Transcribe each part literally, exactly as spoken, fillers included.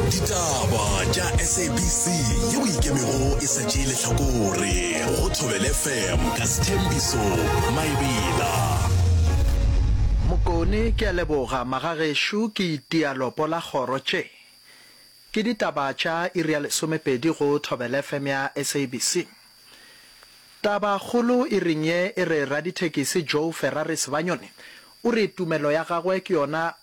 Ditaba tša S A B C yeo ikemego e sa tšee lehlakore go Thobela F M ka Sthembiso Maebela. Mokone ke a leboga magagešo ke itia lopo la kgoro tše ke ditaba tša iri ya lesomepedi go Thobela F M ya S A B C. Taba kgolo iring ye e re radithekisi Joe Ferrari Sebanyoni o re tumelo ya gagwe ke yona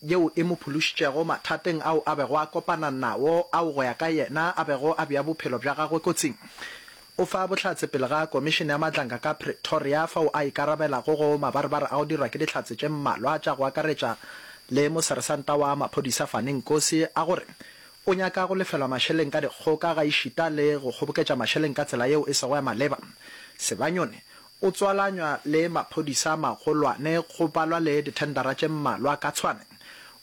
yeo e mo phološitšego mathateng ao a bego a kopana nao ao go ya ka yena a bego a bea bophelo bja gagwe kotsing. O fa bohlatse pele ga Komišene ya Madlanga ka Pretoria fao a ikarabelago go mabarebare a go dirwa ke dihlatse tše mmalwa tša go akaretša le moseresanta wa maphodisa Fani Nkosi a gore o nyaka go lefelwa mašeleng ka dikgoka gaešita le go kgoboketša mašeleng ka tsela yeo e sego ya maleba. Sebanyoni o tswalanywa le maphodisa magolwane go balwa le dithendara tše mmalwa ka Tshwane.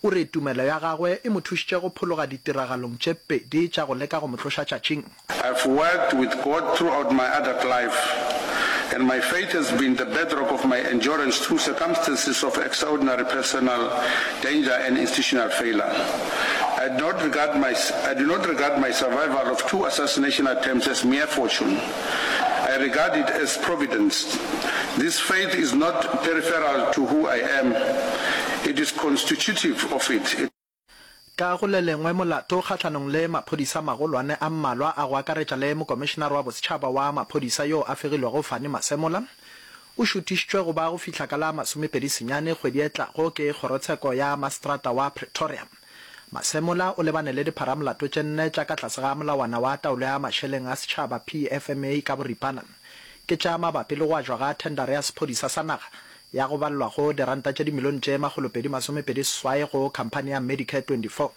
O re tumelo ya gagwe e mo thušitše go phologa ditiragalong tše pedi tša go leka go mo tloša tšatšing. I've worked with God throughout my adult life, and my faith has been the bedrock of my endurance through circumstances of extraordinary personal danger and institutional failure. I do not regard my, I do not regard my survival of two assassination attempts as mere fortune. I regard it as providence. This faith is not peripheral to who I am. It is constitutive of it. It Ka go le lengwe molato kgahlanong le maphodisa magolwane a mmalwa a go akaretša le mokomišenare wa bosetšhaba wa maphodisa yo a fegilwego Fani Masemola o šuthišitšwe go ba go fihla ka la masomepedi senyane kgwedi e tlago ke kgorotsheko ya maseterata wa Pretoria. Masemola o lebane le dipharamolato tše nne tša ka tlase ga molawana wa taolo ya mašeleng a setšhaba P F M A ka boripana. Ke tša mabapi le go ajwa ga thendara ya sephodisa sa naga ya go balelwa go diranta tše dimilione tše makgolopedi masomepedi seswai go khamphani ya Medicare twenty-four.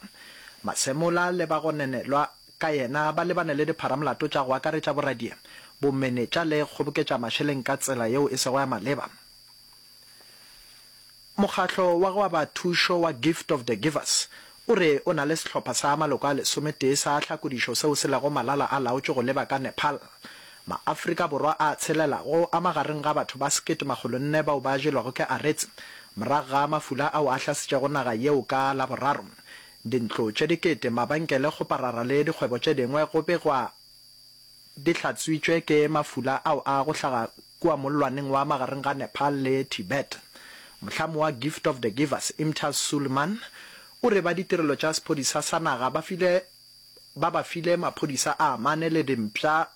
Masemola le ba go nenelwa ka yena ba lebane le dipharamolato tša go akaretša boradia, bomenetša le kgoboketša mašeleng ka tsela yeo e sego ya maleba. Mokgatlo wa go aba thušo wa Gift of the Givers o re o na le sehlopha sa maloko a lesometee sa tlhakodišo seo se lego malala a laotšwe go leba ka Nepal. Maafrika Borwa a tshelelago a magareng ga batho ba sekete makgolo nne bao ba jelwago ke aretse morago ga mafula ao a hlasetšego naga yeo ka Laboraro. Dintlo tše dikete, mabenkele, kgoparara le dikgwebo tše dingwe go begwa di hlatswitšwe ke mafula ao a go hlaga kua mollwaneng wa magareng ga Nepal le Tibet. Mohlami wa Gift of the Givers, Imtiaz Sooliman, o re ba ditirelo tša sephodisa sa naga ba file ba ba file maphodisa a mane le dimpša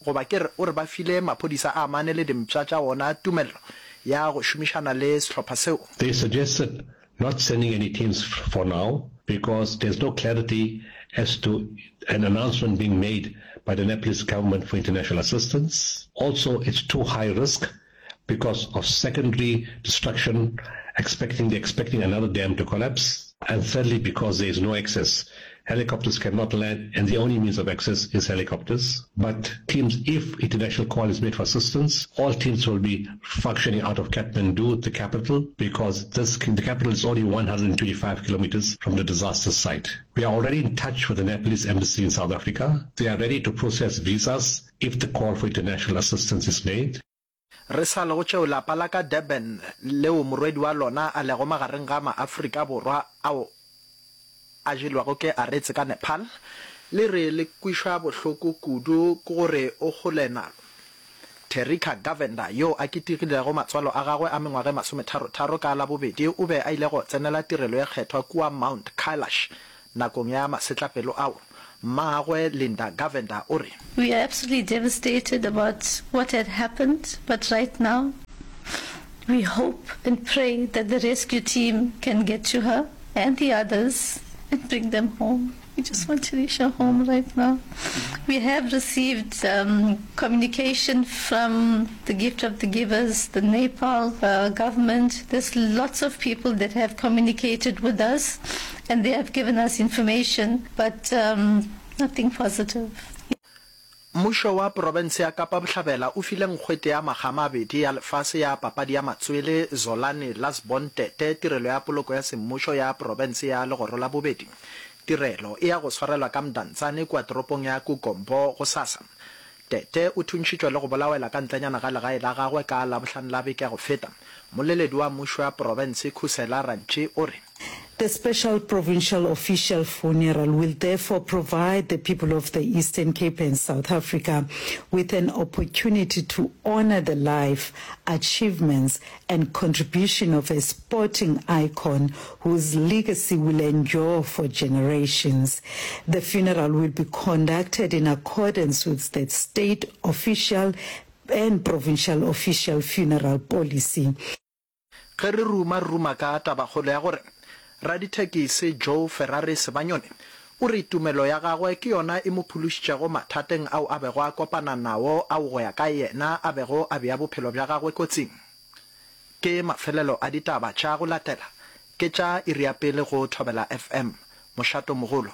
goba ke re o re ba file maphodisa a mane le dimpša tša ona tumelelo ya go šomišana le sehlopha seo. They suggested not sending any teams for now because there's no clarity as to an announcement being made by the Nepalese government for international assistance. Also, it's too high risk because of secondary destruction, expecting they're expecting another dam to collapse. And thirdly, because there is no access. Helicopters cannot land, and the only means of access is helicopters. But teams, if international call is made for assistance, all teams will be functioning out of Kathmandu, the capital, because this the capital is only one hundred twenty-five kilometers from the disaster site. We are already in touch with the Nepalese embassy in South Africa. They are ready to process visas if the call for international assistance is made. Re sa le go tšeo lapa la ka Durban leo morwedi wa lona a lego magareng ga maAfrika Borwa ao a jelwago ke aretse ka Nepal le re le kwišwa bohloko kudu ke gore o kgole nalo. Terika Govender yo a ketekilego matswalo a gagwe a mengwaga e masometharo-tharo ka Labobedi o be a ile go tsenela tirelo ye kgethwa kua Mount Kailash nakong ya masetlapelo ao. Mmagwe Linda Govender o re We are absolutely devastated about what had happened, but right now we hope and pray that the rescue team can get to her and the others and bring them home. We just want Terisha home right now. We have received um, communication from the Gift of the Givers, the Nepal uh, government. There's lots of people that have communicated with us and they have given us information, but um, nothing positive. Mmušo wa profense ya Kapa Bohlabela o file nkgwete ya makga a mabedi ya lefase ya papadi ya matswele Zolani Lasbon Tete tirelo ya poloko ya semmušo ya profense ya legoro la bobedi. Tirelo e ya go swarelwa ka Mdantsane kua toropong ya Kugompo gosasa. Tete o thuntšhitšwe le go bolawela ka ntlenyana ga legae la gagwe ka Labohlano la beke ya go feta. Mmoleledi wa mmušo wa profense Khusela Rantši o re The special provincial official funeral will therefore provide the people of the Eastern Cape and South Africa with an opportunity to honor the life, achievements and contribution of a sporting icon whose legacy will endure for generations. The funeral will be conducted in accordance with the state official and provincial official funeral policy. Ge re ruma re ruma ka tabakgolo ya gore radithekisi Joe Ferrari Sebanyoni o re tumelo ya gagwe ke yona e mo phološitšego mathateng ao a bego a kopana nao ao go ya ka yena a bego a bea bophelo bja gagwe kotsing. Ke mafelelo a ditaba tša go latela ke tša iri ya pele go Thobela F M, mošatomogolo.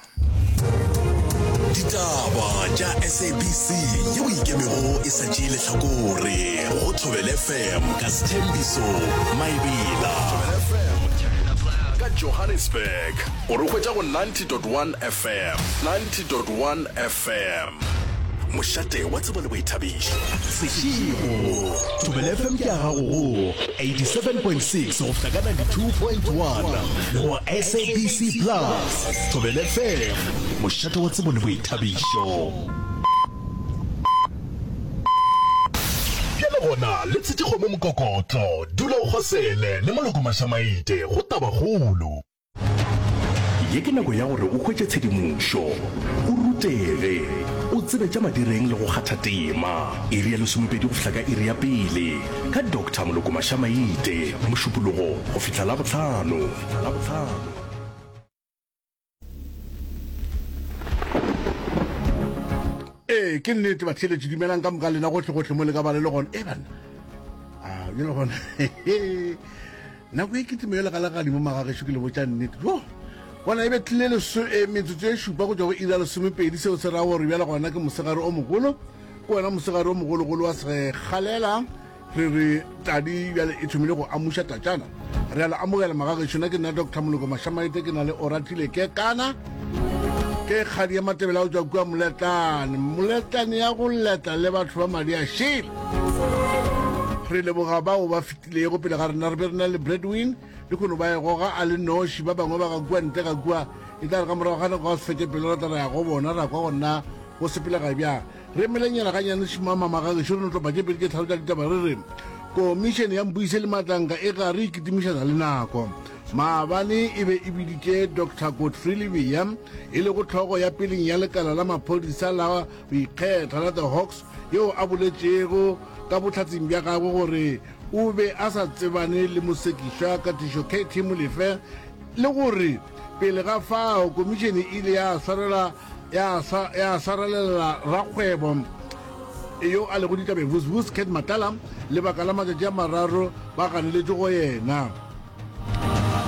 Ditaba tša S A B C yeo e ikemego e sa tšee lehlakore go Thobela F M ka Sthembiso Maebela. Thobela F M ka Johannesburg o re hwetša go ninety point one F M, ninety point one F M, mošate wa tsebo le boithabišo. Seshego Thobela F M ke ya gago go eighty-seven point six go fihla ka ninety-two point one go S A B C Plus. Thobela F M, mošate wa tsebo le boithabišo. Bjale gona le tshetše kgomo mokokotlo, dula o kgosele le Moloko Mašamaite go Tabakgolo. Ye ke nako ya gore o hwetše tshedimošo, o rutege, o tsebe tša madireng le go kgatha tema. Iri ya lesomepedi go fihla ka iri ya pele ka Doctor Moloko Mašamaite, Mošupologo go fihla Labohlano. Ee, ke nnete batheeletši, dumelang ka moka lena gohlegohle mo le ka ba le le gona. E banna, a bjale gona nako e kitimo yo legalegadimo magagešo, ke le botša nnete. Jo bona e be tlile leso- eh, metsotso e šupa go tšwa go iri ya lesomepedi, seo se ra gore bjale gona ke mosegare o mogolo, ke wena mosegare o mogologolo wa segalela. Re re tadi bjale e thomile go amuša tatšana. Re a le amogela magagešo, na ke nna Doctor Moloko Mašamaite, ke na le Oratile ke kana ke kgadi ya Matebele a go tšwa kua Moletlane, Moletlane ya go letla le batho ba madi a šele. Re leboga bao ba fetilego pele ga rena, re be re na le Bradwin le kgono ba e goga a le noši, ba bangwe ba ga kua ntle ga kua. E tla re ka morago ga nako ga se fete pelo re tla re ya go bona, ra kwa gona go sepelega bjang. Re emelenyana ganyane šimama magagešo, re no tlopa tše pedi tše tlhalo tša ditaba. Re re komišene ya Mpuise le Matlanka e gare e kitimišana le nako. Maabane e be e biditše Doctor Godfrey Lebea, e lego tlhogo ya peleng ya lekala la maphodisa la go ikgetha la The Hawks, yeo a boletšego ka bohlatseng bja gagwe gore o be a sa tsebane le mosekišwa Katišo K T Molefe, le gore pele ga fao komišene e ile ya swarela ya ya swarelela rakgwebo yo a lego ditabeng Vusvus Cat Matala lebaka la matšatši a mararo ba ganeletše go yena.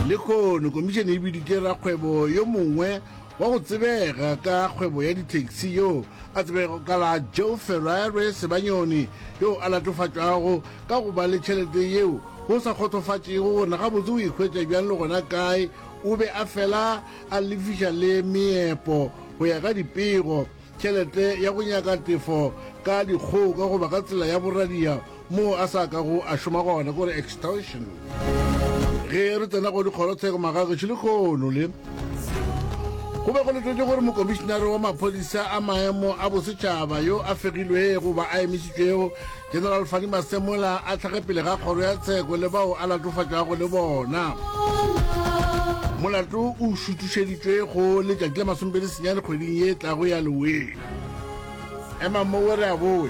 Lekgono komišene e biditše rakgwebo yo mongwe wa go tsebega ka kgwebo ya di-taxi yo a tsebego ka la Joe Ferrari Sebanyoni, yo a latofatšwago ka go ba le tšhelete yeo go sa kgotsofatšego gore gabotse o ikhwetša bjang le gona kae. O be a fela a lefiša le meepo go ya ka dipego tšhelete ya go nyaka tefo ka dikgoka goba ka tsela ya boradia moo a sa kago a šoma gona, kore extortion. Ge re tsena go dikgorotsheko magagešo, lekgono le go be go letetše gore mokomišenare wa maphodisa a maemo a bosetšhaba yo a fegilwego goba a emišitšwego, General Fannie Masemola, a tlhage pele ga kgoro ya tsheko le bao a latofatšwago le bona. Molato o šuthušeditšwe go letšatši la masomepedi senyane kgweding ye tlago ya Leweng. Ema mowe re a boe.